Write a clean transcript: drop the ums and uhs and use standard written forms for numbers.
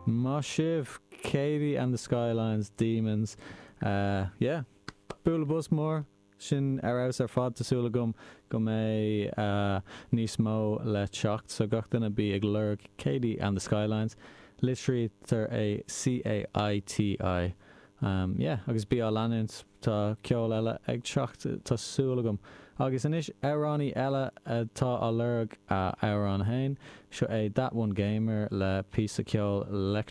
Maith sibh! Caiti and the Skylines, Demons. Yeah. Bualadh bos mór. Sin ar fheabhas ar fad. Tá súil agam go mbeidh níos mó le teacht. So gach duine bí ag lorg Caiti and the Skylines. Litrítear é C-A-I-T-I. Yeah, agus bí á leanúint. Tá ceol eile ag teacht, tá súil agam. Agus anois amhránaí eile atá á lorg a amhrán féin. Seo é That One Gamer le píosa ceoil leictreonach.